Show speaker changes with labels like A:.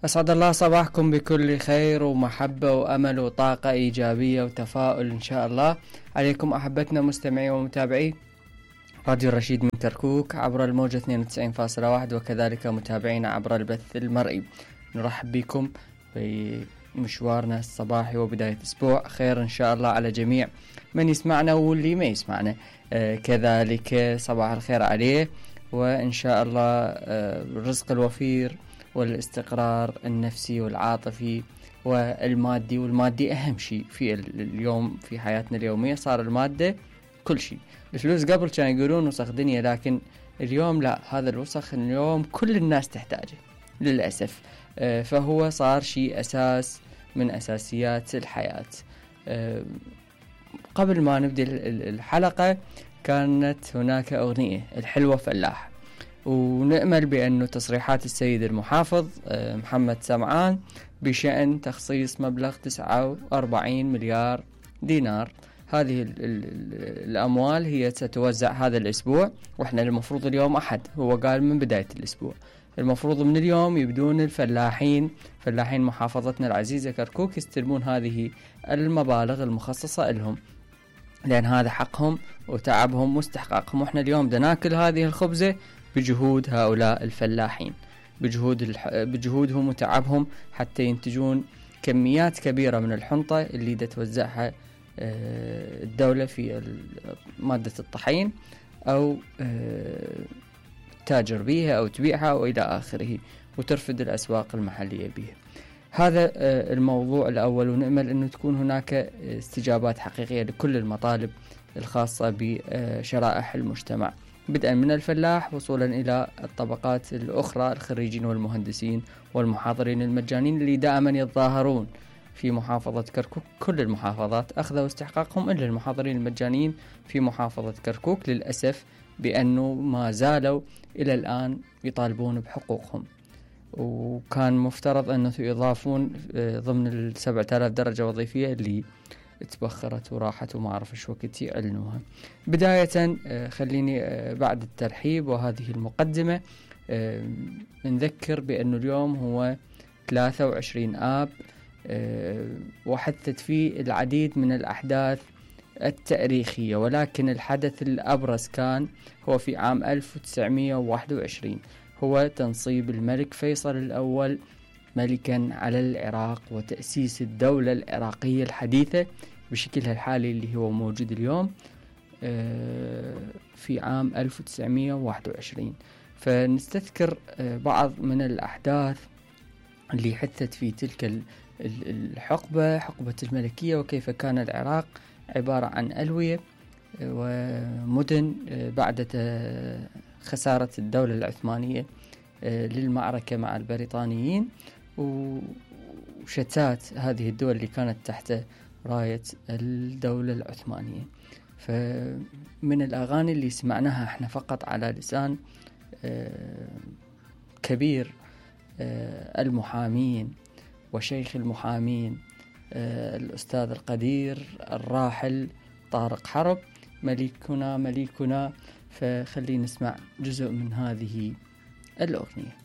A: أسعد الله صباحكم بكل خير ومحبة وأمل وطاقة إيجابية وتفاؤل إن شاء الله عليكم أحبتنا مستمعي ومتابعي راديو الرشيد من كركوك عبر الموجة 92.1 وكذلك متابعينا عبر البث المرئي. نرحب بكم في مشوارنا الصباحي وبداية أسبوع خير إن شاء الله على جميع من يسمعنا واللي ما يسمعنا كذلك صباح الخير عليه، وإن شاء الله الرزق الوفير والاستقرار النفسي والعاطفي والمادي، والمادي أهم شيء في اليوم في حياتنا اليومية. صار المادة كل شيء. الفلوس قبل كانوا يقولون وسخ دنيا، لكن اليوم لا، هذا الوسخ اليوم كل الناس تحتاجه للأسف. فهو صار شيء أساس من أساسيات الحياة. قبل ما نبدأ الحلقة كانت هناك أغنية الحلوة فلاح، ونأمل بأن تصريحات السيد المحافظ محمد سمعان بشأن تخصيص مبلغ 49 مليار دينار، هذه الأموال هي ستوزع هذا الأسبوع، وإحنا المفروض اليوم أحد، هو قال من بداية الأسبوع المفروض من اليوم يبدون الفلاحين فلاحين محافظتنا العزيزة كركوك يستلمون هذه المبالغ المخصصة لهم، لأن هذا حقهم وتعبهم واستحقاقهم. وإحنا اليوم ناكل هذه الخبزة بجهود هؤلاء الفلاحين، بجهودهم وتعبهم حتى ينتجون كميات كبيرة من الحنطة اللي توزعها الدولة في مادة الطحين أو تاجر بيها أو تبيعها وإلى آخره، وترفد الأسواق المحلية بها. هذا الموضوع الأول، ونأمل أنه تكون هناك استجابات حقيقية لكل المطالب الخاصة بشرائح المجتمع، بدءا من الفلاح وصولا إلى الطبقات الأخرى، الخريجين والمهندسين والمحاضرين المجانين اللي دائما يتظاهرون في محافظة كركوك. كل المحافظات أخذوا استحقاقهم إلا المحاضرين المجانين في محافظة كركوك للأسف، بأنه ما زالوا إلى الآن يطالبون بحقوقهم، وكان مفترض أنه يضافون ضمن 7000 درجة وظيفية اللي اتبخرت وراحت وما أعرف إيش وقت يعلنوها. بداية خليني بعد الترحيب وهذه المقدمة نذكر بأنه اليوم هو 23 آب، وحدثت فيه العديد من الأحداث التاريخية، ولكن الحدث الأبرز كان هو في عام 1921، هو تنصيب الملك فيصل الأول ملكا على العراق وتأسيس الدولة العراقية الحديثة بشكلها الحالي اللي هو موجود اليوم في عام 1921. فنستذكر بعض من الأحداث اللي حدثت في تلك الحقبة، حقبة الملكية، وكيف كان العراق عبارة عن ألوية ومدن بعد خسارة الدولة العثمانية للمعركة مع البريطانيين، وشتات هذه الدول اللي كانت تحت راية الدولة العثمانية. فمن الأغاني اللي سمعناها احنا فقط على لسان كبير المحامين وشيخ المحامين الأستاذ القدير الراحل طارق حرب، مليكنا مليكنا. فخلينا نسمع جزء من هذه الأغنية.